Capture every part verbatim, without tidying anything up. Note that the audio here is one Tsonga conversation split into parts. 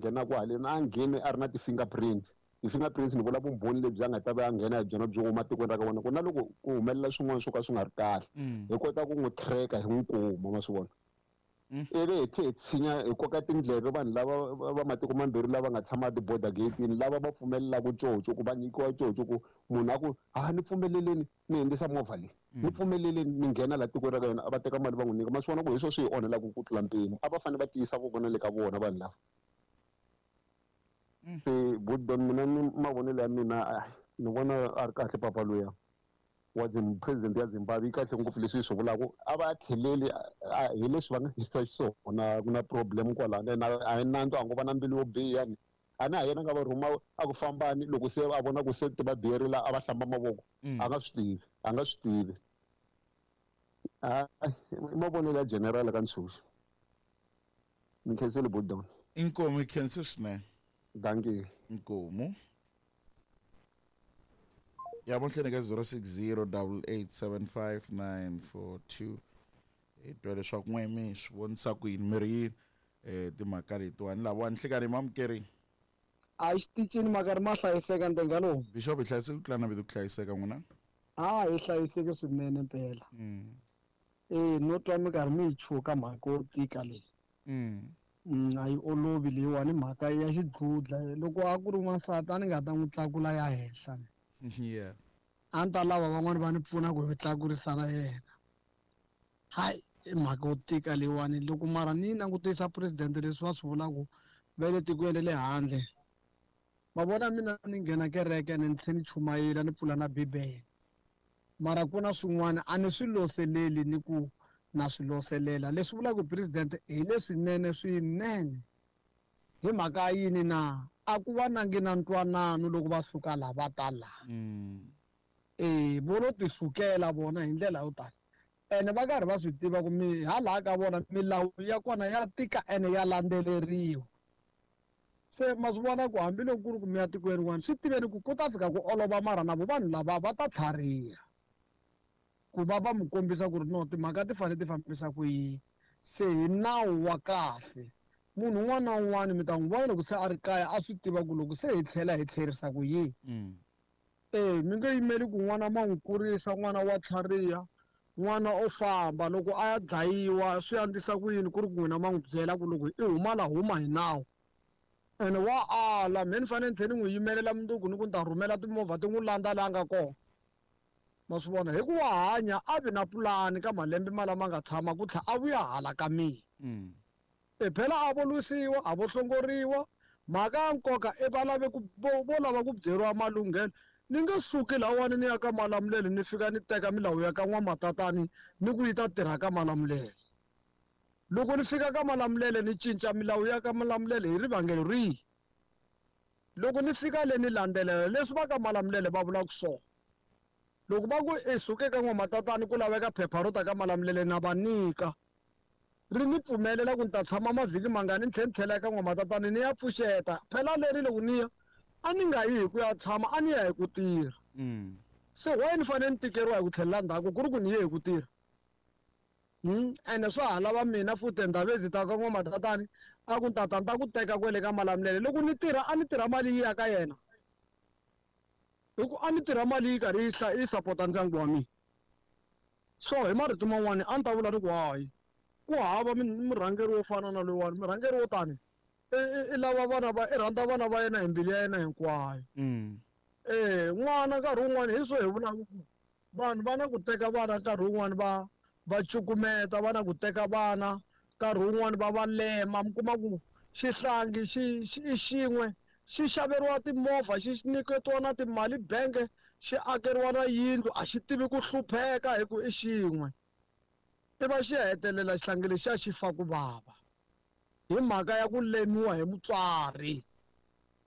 nghenaka haleni a ngheni a ri na ti-fingerprint. Ti-fingerprints ni vula vumbhoni lebyi a nga ta va a nghena hi byona byo huma tikweni ra ka vona ku na loko ku humelela swin'wana swo ka swi nga ri kahle hi kota ku n'wi tracker hi n'wi kuma ma swi vona. Ivi hi tlhe hi tshinya hi koka tindleve vanhu lava va matiko mambirhi lava nga tshama ti-border gate-ini lava va pfumelelaka coco ku va nyikiwa coco ku munhu a ku ha ni pfumeleleni ni hundzisa movha leyi ni pfumeleleni ni nghena laha tikweni ra ka yona a va teka mali va n'wi nyika ma swi vona ku hi swona swi hi onhelaka ku tlula mpimo a va fanele va tiyisa voko na le ka vona vanhu lava. Se Budon mina ni mavonelo ya mina ni vona a ri kahle papa luya wa president ya Zimbabwe yi kahle ngopfu leswi yi swi vulaka a va tlheleli hi leswi va nga hisa xiswona ku na problem kwalano ene a hi nandzu a ngo va na mbilu yo biha ni a na ha yena nga va rhuma a ku fambani loko se a vona ku se ti va biyerile a va hlamba mavoko a nga swi tivi a nga swi tivi a i mavonelo ya general ka Ntshuxo ni khensile Budon. Inkomu hi khensa swinene. Dankie. Inkomu. Ya mahlweni ka zero six zero double eight seven five nine four two hi twa leswaku n'we mi swi vonisa ku yini mi ri yini um timhaka letiwani lava nhlikani mamukeri a xitichini makarhi ma hlayiseka ntenga lowu bishop hi hlayiseke ku tlula na vito ku hlayiseka n'wina a hi hlayiseke swinene mpela e no twa minkarhi mi yi chuka mhaka yo tika leyi mm a yi olovi leyiwani mhaka ya xidludla loko a ku ri n'wansati a ni nga ta n'wi tlakula ya henhla yeah a ni ta lava van'wani va ni pfuna ku hi tlakurisana yena hayi i mhaka yo tika leyiwani loko mara ni yi langutisa president leswi va swi vulaka va le tikweni ra le handle ma vona mina ni nghena kereke ni tlhe ni chumayela ni pfula na bibele mara ku na swin'wana a ni swi loseleli ni ku na swi loselela leswi vulaka president hi leswinene swinene hi mhaka yini na a ku va nangi na ntwanano loko va suka laha va ta laha e vo lo ti sukela vona hi ndlela yo tala ene va karhi va swi tiva ku mi hala ka vona milawu ya kona ya tika ene ya landzeleriwa se ma swi vona ku hambiloko ku ri ku mi ya tikweni rin'wana swi tiveni ku ku ta fika ku olova mara na vo vanhu lava va ta tlhariha ku va va mi kombisa ku ri no timhaka ti fanele ti fambisa ku yini se hi nawu wa kahle munhu un'wana na un'wana mi ta n'wi vona loko se a ri kaya a swi tiva ku loko se hi tlhela hi tlherisa ku yini e mi nge yimeli ku n'wana ma n'wi kurisa n'wana wa tlhariha n'wana o famba loko a ya dlayiwa swi andzisa ku yini ku ri ku n'wina ma n'wi byela ku loko i huma la huma hi nawu ene wa ala me ni fanele ni tlhela ni n'wi yimelela mundzuku ni ku ni ta rhumela timovha ti n'wi landza laha nga kona ma swi vona hi ku wa hanya a vi na pulani ka malembe ma lama nga tshama ku tlhela a vuya hala ka mina e phela a vo lwisiwa a vo hlongoriwa mhaka ya nkoka i va lave ku vo lava ku byeriwa malunghelo ni nge suki lahawani ni ya ka Malamulele ni fika ni teka milawu ya ka n'wamatatani ni ku yi ta tirha ka Malamulele loko ni fika ka Malamulele ni cinca milawu ya ka Malamulele hi rivangelo rihi loko ni fika le ni landzelela leswi va ka Malamulele va vulaka swona loko va ku i suke ka n'wamatatani ku laveka phepha ro ta ka Malamulele na va nyika ri ni pfumelela ku ni ta tshama mavhiki mangani ni tlhela ni tlhela eka n'wamatatani ni ya pfuxeta phela leri loko ni ya a ni nga yi hi ku ya tshama a ni ya hi ku tirha se why ni fanele ni tikeriwa hi ku tlhelela ndzhaku ku ri ku ni ye hi ku tirha ene swa ha lava mina futhi ndhawu ta ka n'wamatatani a ku tata ni ta ku teka kwele ka Malamulele loko ni tirha a ni tirha mali yi ya ka yena hi ku a ni tirha mali yi karhi yi yi sapota ndyangu wa mina so hi marito man'wani a ni ta vula ri ku hayi ku hava murhangeri wo fana na loyiwani murhangeri wo tani i lava vana va i rhandza vana va yena hi mbilu ya yena hinkwayo e n'wana nkarhi wun'wani hi swo hi vulaka ku vanhu va na ku teka vana nkarhi wun'wani va va cukumeta va na ku teka vana nkarhi wun'wani va va lema mi kuma ku xihlangi xi i xin'we xi xaveriwa timovha xi nyiketiwa na timali bank xi akeriwa na yindlu a xi tivi ku hlupheka hi ku i xin'we i va xi hetelela xihlangi lexiya xi fa ku vava hi mhaka ya ku lemiwa hi mutswari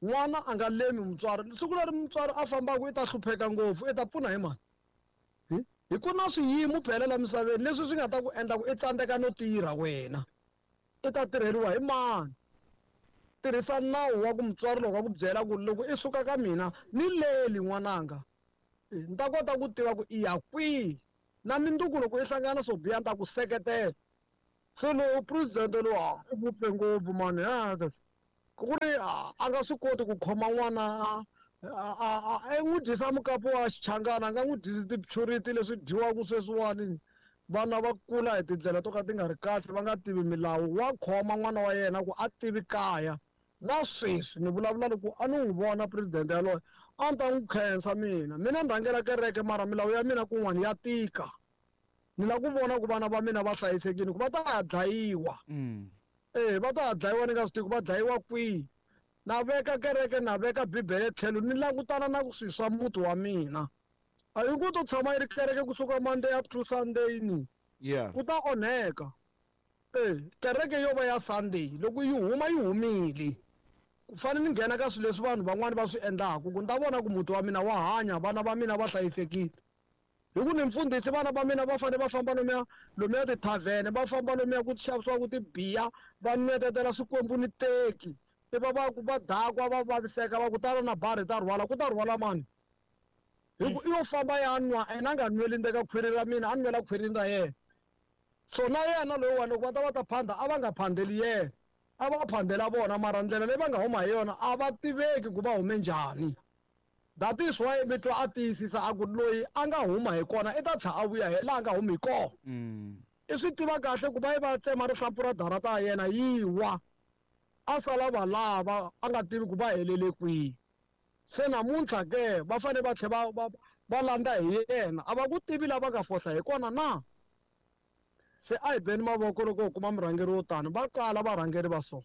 n'wana a nga lemi mutswari siku leri mutswari a fambaka i ta hlupheka ngopfu i ta pfuna hi mani hi ku na swiyimo phela la misaveni leswi swi nga ta ku endla ku i tsandzeka no tirha wena i ta tirheriwa hi mani tirhisa nawu wa ku mutswari loko a ku byela ku loko i suka ka mina ni leli n'wananga ni ta kota ku tiva ku i ya kwihi na minduku loko i hlangana swo biha ni ta ku seketela se lowu president lowu i vupfe ngopfu mani Ku ri a nga swi koti ku khoma n'wana a a n'wi dyisa mukapu wa xichangana, a nga n'wi dyisi ti-purity leswi dyiwaka sweswiwani. Vana va kula hi tindlela to ka ti nga ri kahle, va nga tivi milawu. Wa khoma n'wana wa yena ku a tivi kaya. Na sweswi ni vulavula loko a ni n'wi vona president yaloye, a ni ta n'wi khensa mina. Mina ni rhangela kereke mara milawu ya mina kun'wana ya tika. Ni lava ku vona ku vana va mina va hlayisekile, ku va ta ya dlayiwa. Eh, va ta ya dlayiwa ni nga swi tivi ku va dlayiwa kwihi. Na veka kereke, na veka Bibele tlhelo, ni langutana na ku swi swa muti wa mina. A yi ku to tshama yi ri kereke kusuka Monday up to Sunday ni. Yeah. Ku ta onheka. Eh, kereke yo va ya Sunday, loko yi huma yi humile. Ku fanele ni nghena ka swilo leswi vanhu van'wani va swi endlaka, ku ni ta vona ku muti wa mina wa hanya, vana va mina va hlayisekile. Hi ku ni mfundhisi, vana va mina va fanele va famba lomuya, lomuya tithavhene, va famba lomuya ku xavisiwaka tibiya, va nwetetela swikwembu ni teki. I va va ku va dakwa, va vaviseka, va ku tala na bari ta rhwala, ku ta rhwala mani? Hi ku i yo famba ya nwa, ene a nga nweli ndzeni ka khwiri ra mina, a nwela khwirini ra yena. So na yena loyiwani loko va ta va ta phanda, a va nga phandeli yena, a va phandela vona, mara ndlela leyi va nga huma hi yona a va tiveki ku va hume njhani. That is why mi twa a tiyisisa a ku loyi a nga huma hi kona i ta tlhela a vuya hi laha a nga humi hi kona. I swi tiva kahle ku va yi va tsema rihlampfu ra darata ya yena yi wa, a sala va lava a nga tivi ku va helele kwihi. Se namuntlha ke va fanele va tlhela va, va, va landza hi yena, a va ku tivi lava nga fohla hi kona na. Se a hi beni mavoko loko hi kuma murhangeri wo tani, va kala varhangeri va so.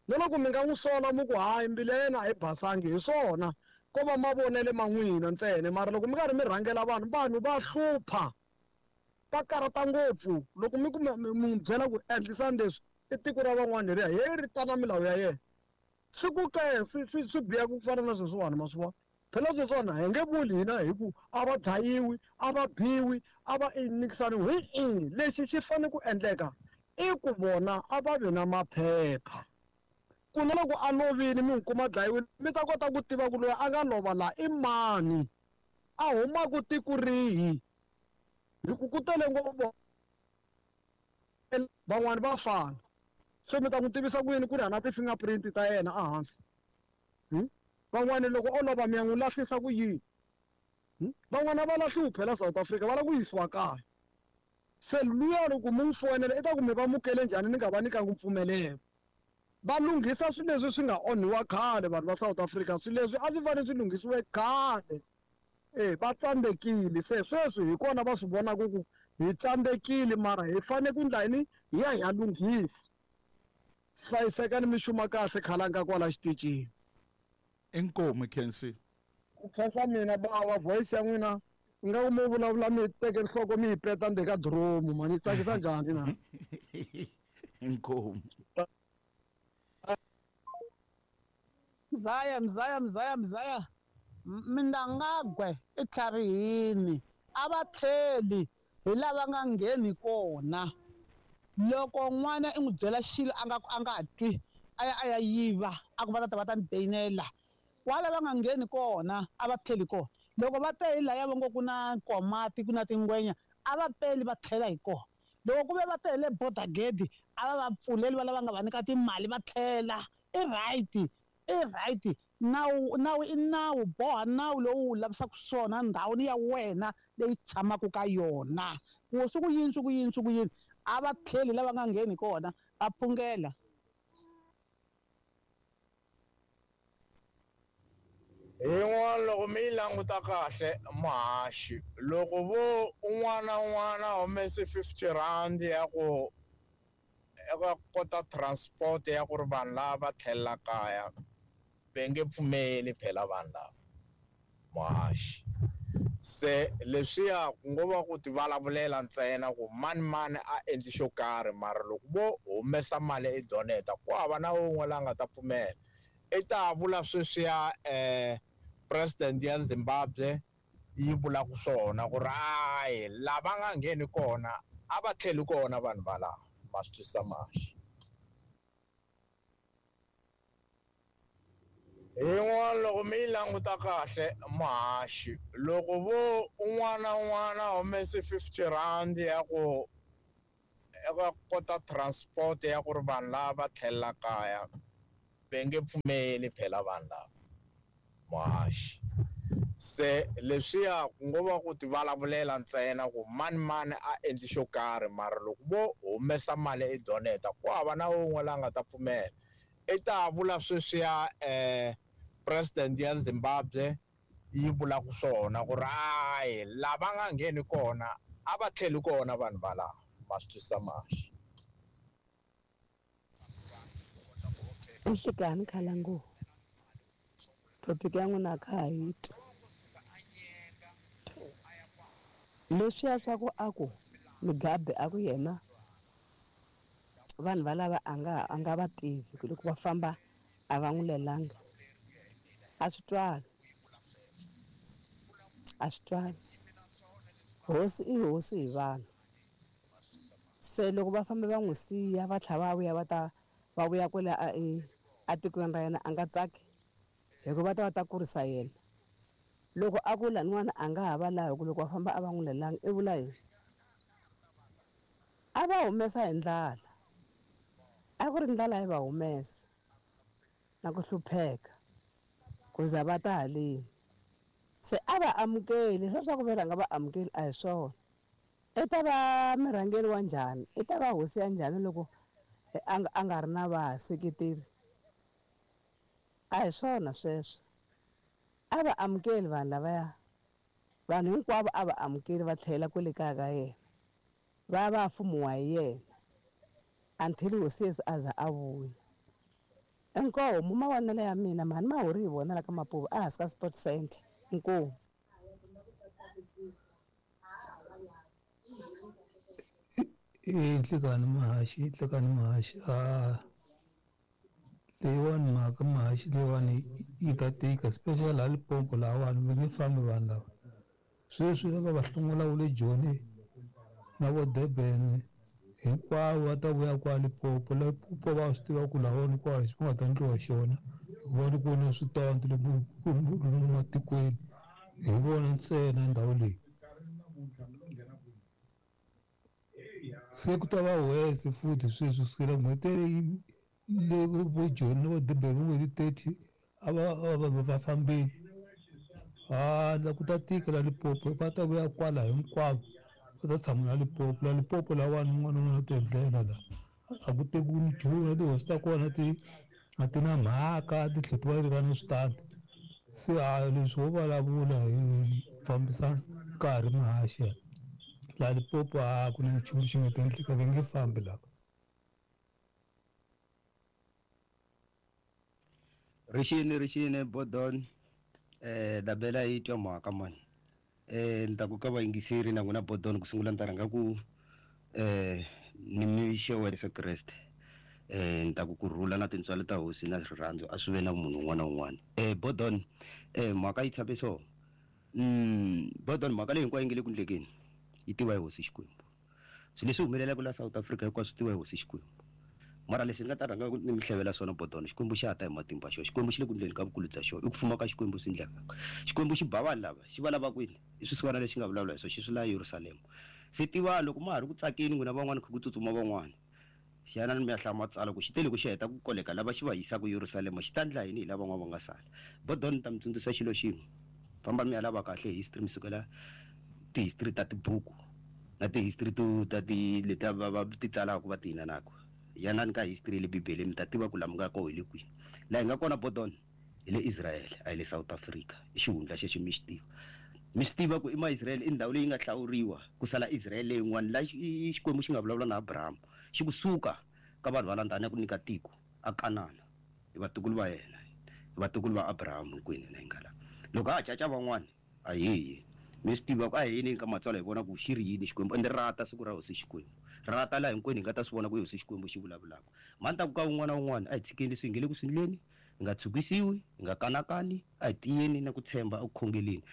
Na loko mi nga n'wi sola mi ku hayi mbilu ya yena a yi basangi, hi swona ko va mavonele ma n'wina ntsena, mara loko mi karhi mi rhangela vanhu, vanhu va hlupha, va karhata ngopfu. Loko mi ku mi, mi n'wi byela ku endlisani leswi, i tiko ra van'wana leriya, he ri ta na milawu ya yena. Swi ku ke swi, swi, swi biha ku fana na sweswiwani, ma swi vona. Phela sweswiwani hi nge vuli hina hi ku a va dlayiwi, a va biwi, a va nyikisaniwi. Hi i lexi xi fanele ku endleka i ku vona a va vi na maphepha. Ku na loko a lovile mi n'wi kuma dlayiwile, mi ta kota ku tiva ku loyi a nga lova laha i mani, a humaka tiko rihi. Hi ku ku tele ngopfu van'wani va fana. Se mi ta n'wi tivisa ku yini ku ri hana ti-fingerprint ta yena ehansi? Hmm? Van'wani loko o lova mi ya n'wi lahlisa ku yini? Hmm? Van'wani a va lahliwi phela South Africa, va lava ku yisiwa kaya. Se luya loko mi n'wi foyinela i ta ku mi va mukele njhani ni nga va nyikangi mpfumelelo. Va lunghisa swilo leswi swi nga onhiwa khale vanhu va South Africa, swilo leswi a swi fanele swi lunghisiwe khale. Eh, va tsandzekile. Se sweswi hi kona va swi vonaka ku hi tsandzekile, mara hi fanele ku endla yini? Hi ya hi ya lunghisa. Hlayisekani mi xuma kahle khalanga kwala xitichini. Inkomu Khensi. Ku khensa mina bawa, voice ya n'wina ingaku mo vulavula mi teke nhloko mi yi peta ndzeni ka diromu, mani yi tsakisa njhani na? Inkomu. Mzaya, mzaya, mzaya, mzaya. Mnangagwa i tlharihini, a va tlheli hi lava nga ngheni kona. Loko n'wana i n'wi byela xilo a nga a nga twi, a ya a ya yiva, a ku va ta ta va ta ni beyinela. Kwala va nga ngheni kona, a va tlheli kona. Loko va te hi laya va ngo ku na nkomati, ku na tingwenya, a va peli va tlhela hi kona. Loko ku ve va te hi le border gate, a va va pfuleli va lava nga va nyika timali va tlhela. I right, i right. Nawu, nawu i nawu, boha nawu lowu wu lavisaka swona ndhawini ya wena leyi tshamaka ka yona. Ku swi ku yini, swi ku yini, swi ku yini, a va tlheli lava nga ngheni kona, va phungela. Yin'wana loko mi yi languta kahle muhaxi, loko vo un'wana na un'wana a humese fifty rand ya ku ya ku kota transport ya ku ri vanhu lava va tlhelela kaya, va nge pfumeli phela vanhu lava muhaxi. Se leswiya ku ngo va ku ti vulavulela ntsena ku mani mani a endli xo karhi, mara loko vo humesa mali i doneta ku hava na wun'we la nga ta pfumela. I ta vula sweswiya, eh, president ya Zimbabwe yi vulaka swona ku ri hayi lava nga ngheni kona a va tlheli kona vanhu va laha, ma swi twisisa muhaxi. Yin'wana loko mi yi languta kahle muhaxi, loko vo un'wana na un'wana a humese fifty rand ya ku ya ku kota transport ya ku ri vanhu lava va tlhelela kaya, Va nge pfumeli phela vanhu lava muhaxi. Se leswiya ku ngo va ku ti vulavulela ntsena ku mani mani a endli xo karhi, mara loko vo humesa mali i doneta ku hava na wun'we la nga ta pfumela. I ta vula sweswiya um president ya Zimbabwe yi vulaka swona ku ri hayi lava nga ngheni kona a va tlheli kona vanhu valava. Ma swi twisisa muhaxi. Nhlikani khalangu topic ya n'wina a kha ha yi twi. Leswiya swa ku a ku Mugabe a ku yena vanhu valava a nga a nga va tivi ku loko va famba a va n'wi lelanga, a swi twali, a swi twali. Hosi i hosi hi vanhu. Se loko va famba va n'wi siya va tlhela va vuya va ta va vuya kwale a a tikweni ra yena a nga tsaki hikuva va ta va ta kurisa yena. Loko a ku laniwani a nga ha va lavi ku loko va famba a va n'wi lelanga i vula yini? A va humesa hi ndlala, a ku ri ndlala yi va humesa na ku hlupheka ku za va ta haleni. Se a va amukeli sweswo ku va nga va amukeli a hi swona. I ta va murhangeri wa njhani? I ta va hosi ya njhani loko a nga a nga ri na vaseketeri? A hi swona sweswo. A va amukeli vanhu lavaya, vanhu hinkwavo a va amukeli va tlhela kwale kaya ka yena, va va fumiwa hi yena until hosi Yesu a za a vuya. Inkomu mavonelo ya mina mhani Mahuri hi vona la ka Mapuva a hansi ka Sport Center. Inkomu. I nhlikani muhaxi, nhlikani muhaxi. A leyiwani mhaka muhaxi leyiwani yi ta tika, especially la Limpopo lahawani va nge fambi vanhu lava. Sweswi lava va hlongola wu le Joni na vo Durban hinkwavo va ta vuya kwa Limpopo. Limpopo va swi tiva ku lahawani kwa ku nga ta endliwa xona hikuva ni ku na switandi lomu matikweni hi vona ntsena ndhawu leyi. Se ku ta va west futhi sweswi kusukela n'hweti leyi le vo Joni na vo Durban vo n'hweti thirty a va va va fambile. Ha la ku ta tika la Limpopo, va ta vuya kwala hinkwavo va ta tshama la Limpopo. La Limpopo lawani un'wana na un'wana u ti endlela la, a ku tekiwi nchumu na tihosi ta kona ti a ti na mhaka, ti tlhela ti va ri na switandi. Se ha leswi wo vulavula hi fambisa nkarhi muhaxi la Limpopo a ku na nchumu xi nga ta endleka, va nge fambi lava. Rixini rixini Bodon, eh dabela yi twa mhaka mani. Eh ni ta ku ka vayingiseri na n'wina Bodon ku sungula ni ta rhanga ku eh ni mi xewela Yesu Kreste. Eh ni ta ku kurhula na tintswalo ta hosi na rirhandzu a swi ve na munhu un'wana na un'wana. Eh Bodon, eh mhaka yi tshame so. Mm Bodon mhaka leyi hinkwayo yi nge le ku endlekeni yi tiva hi hosi Xikwembu. Swilo leswi humelelaka la South Africa hinkwaswo swi tiva hi hosi Xikwembu. Mara leswi ni nga ta rhanga ni mi hlevela swona Bodon, Xikwembu xa ta hi matimba xona. Xikwembu xi le ku endleni ka vukulu bya xona, i ku fuma ka Xikwembu swi endlekaka. Xikwembu xi ba vanhu lava, xi va lava kwini? I swisiwana leswi nga vulavula hi swona, xi swi la Yerusalema. Se tiva loko ma ha ri ku tsakeni n'wina van'wani kha ku tsutsuma van'wani, xana ni mi ya hlaya matsalwa ku xi tele ku xi heta ku koleka lava xi va yisaka Yerusalema, xi ta endla yini hi lava van'wana va nga sala? Bodon ni ta mi tsundzuxa xilo xin'we, famba mi ya lava kahle history, mi sukela ti-history ta tibuku na ti-history to ta ti leti va va ti tsalaka va ti inanaka. Yanani ka history le Bibele mi ta tiva ku laha mi nga kona hi le kwihi. Laha hi nga kona Bodon hi le Israel, a hi le South Africa. I xihundla xexo mi xi tiva. Mi swi tiva ku i ma-Israel i ndhawu leyi nga hlawuriwa ku sala Israel leyin'wana laha Xikwembu xi nga vulavula na Abraham xi ku suka ka vanhu va landza ku nyika tiko a Kanana hi vatukulu va yena, hi vatukulu va Abraham hinkwenu hina hi nga laha. Loko a ha caca van'wani a hi mi swi tiva ku a hi yini ka matsalwa hi vona ku xi ri yini Xikwembu, ende rata siku ra hosi Xikwembu. Rata laha hinkwenu hi nga ta swi vona ku hosi Xikwembu xi vulavulaka. Mhani ta ku ka un'wana na un'wana a hi tshikeni leswi hi nge le ku swi endleni, hi nga tshukisiwi, hi nga kanakani, a hi tiyeni na ku tshemba eku khongeleni.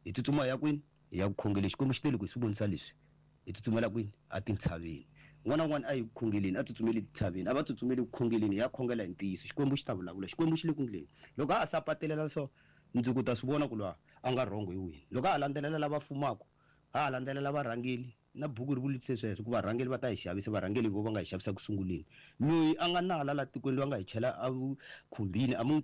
Hi tsutsuma hi ya kwini? Hi ya ku khongeleni. Xikwembu xi tele ku hi swi vonisa leswi. Hi tsutsumela kwini? A tintshaveni. Un'wana na un'wana a yi ku khongeleni, a tsutsumeli tintshaveni, a va tsutsumeli ku khongeleni, hi ya khongela hi ntiyiso. Xikwembu xi ta vulavula, Xikwembu xi le ku endleni. Loko a ha sapatelela so mundzuku ta swi vona ku lwa a nga wrong hi wini. Loko a ha landzelela lava fumaka, a ha landzelela varhangeri, Na buku ri vulise sweswo ku varhangeri va ta hi xavisa, varhangeri vo va nga hi xavisa ku sunguleni. Loyi a nga nala la tikweni loyi a nga hi chela a khumbini a mi n'wi.